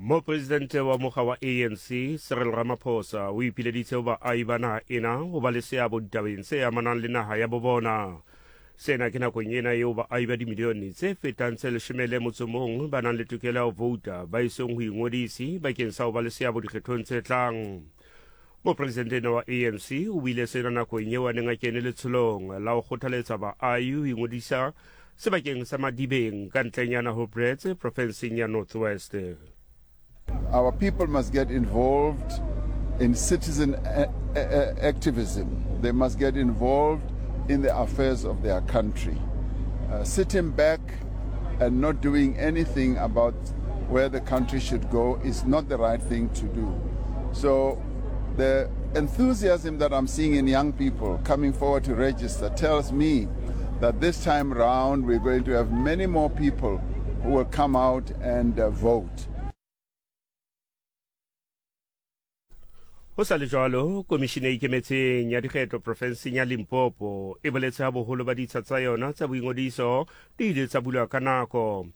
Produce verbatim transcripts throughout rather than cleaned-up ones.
Mopresidente wa mokga wa A N C Cyril Ramaphosa o ipileditse ho baahi ba naha ena ho ba le seabo ditabeng tse amanang le naha ya bo bona. Sena ke nakong ena eo baahi ba dimilione tse fetang tse leshome le motso mong ba nang le tokelo ya ho vouta ba isong ho ingodisi bakeng sa ho ba le seabo dikgethong tse tlang. Mopresidente ena wa A N C o buile sena nakong eo a neng a kene letsholong la ho kgothaletsa baahi ho ingodisa sebakeng sa Madibeng ka ntlenyana ho Brits, profenseng ya North West. Our people must get involved in citizen a- a- activism. They must get involved in the affairs of their country. Uh, sitting back and not doing anything about where the country should go is not the right thing to do. So the enthusiasm that I'm seeing in young people coming forward to register tells me that this time round we're going to have many more people who will come out and uh, vote. Ho sa le jwalo, komishene e ikemetseng ya dikgetho profenseng ya Limpopo e boletse ha boholo ba ditsha tsa yona tsa boingodiso di ile tsa bulwa ka nako.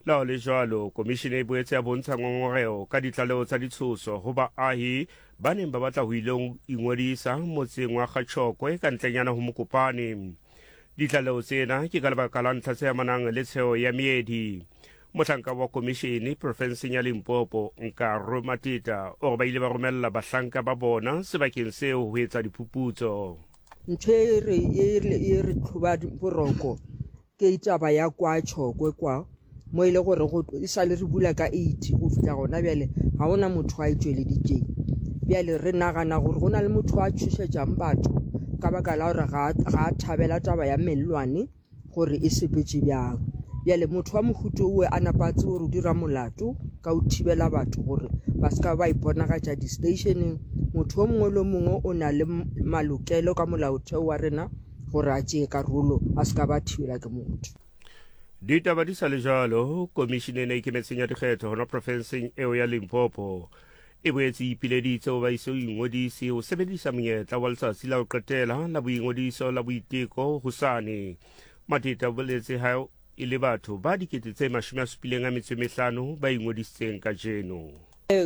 Le ha ho le jwalo, komishene e boetse ya bontsha ngongoreho ka ditlaleho tsa ditshoso ho baahi ba neng ba batla ho ilo ingodisa motseng wa Kgatshokwe ka ntlenyana ho Mokopane. Ditlaleho tsena ke ka lebaka la ntlha tse amanang le tsheho ya meedi. Mohlanka wa komishene profenseng ya Limpopo, Nkaro Mateta, o re ba ile ba romella bahlanka ba bona sebakeng seo ho etsa diphuputso. Ntho e re e re e re tlhoba boroko ke taba ya kwa Tshokwe kwa mo e le gore go e sale re bula ka eight go fihla gona bjale, ga gona motho a e tšweleditšeng. Bjale re nagana gore go na le motho a tšhošetšang batho ka baka la gore ga ga a thabela taba ya mellwane gore e sepetše bjang. Bjale motho wa mohuta owe a napa a tsebe gore o dira molato ka o thibela batho gore ba se ka ba iponagatša di-stationeng. Motho o mongwe le o mongwe o na le malokelo ka molaotheo wa rena gore a tšee karolo, a se ka ba thibela ke motho. Ditaba di sa le jwalo, komishene ena e ikemetseng ya dikgetho hona profenseng eo ya Limpopo e boetse e ipileditse ho ba ise ho ingodise ho sebedisa monyetla wa letsatsi la ho qetela la boingodiso la boiteko hosane. Mateta o boletse ha e le batho ba dikete tse mashome a supileng a metso e mehlano ba ingodisitseng kajeno.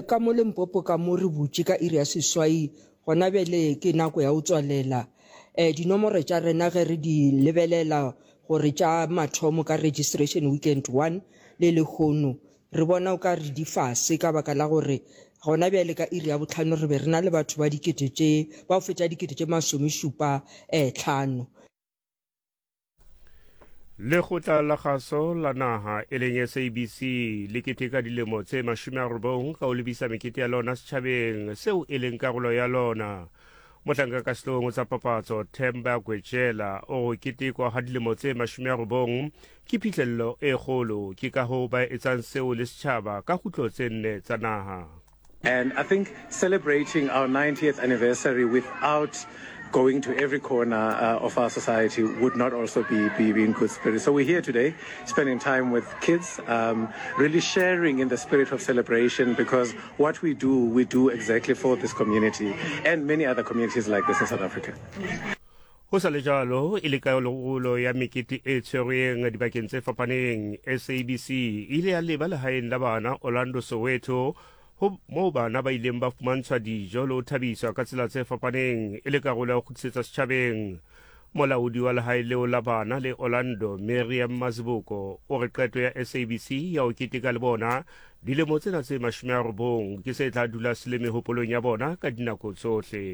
Ka mo Limpopo ka mo re butše ka iri ya seswai, gona bjale ke nako ya go tswalela. um dinomoro tša rena ge re di lebelela gore tša mathomo ka registration weekend one le lehono, re bona o ka re di fase ka baka la gore gona bjale ka iri ya botlhano re be re na le batho ba dikete tše ba go fetša dikete tše masomešupa um tlhano. Lekgotla la kgaso la naha e leng S A B C le keteka dilemo tse mashome a robong ka ho lebisa mekete ya lona setjhabeng seo e leng karolo ya lona. Mohlanka ka sehloohong tsa papatso Themba Gwejela o re ketekwa ha dilemo tse mashome a robong ke phihlello e kgolo, ke ka hoo ba etsang seo le setjhaba ka kgutlo tse nne tsa naha. And I think celebrating our ninetieth anniversary without going to every corner uh, of our society would not also be, be, be in good spirit. So we're here today, spending time with kids, um, really sharing in the spirit of celebration, because what we do, we do exactly for this community and many other communities like this in South Africa. Ho sa le jwalo, e le karolo ya mekete e tshwerweng dibakeng tse fapaneng, S A B C e ile ya leba lehaeng la bana Orlando, Soweto, ho moo bana ba ileng ba fumantshwa dijo le ho thabiswa ka tsela tse fapaneng e le karolo ya ho kgutlisetsa setjhabeng. Molaodi wa lehae leo la bana le Orlando, Miriam Mazibuko, o re qeto ya S A B C ya ho keteka le bona dilemo tsena tse mashome a robong ke se tla dula se le mehopolong ya bona ka dinako tsohle.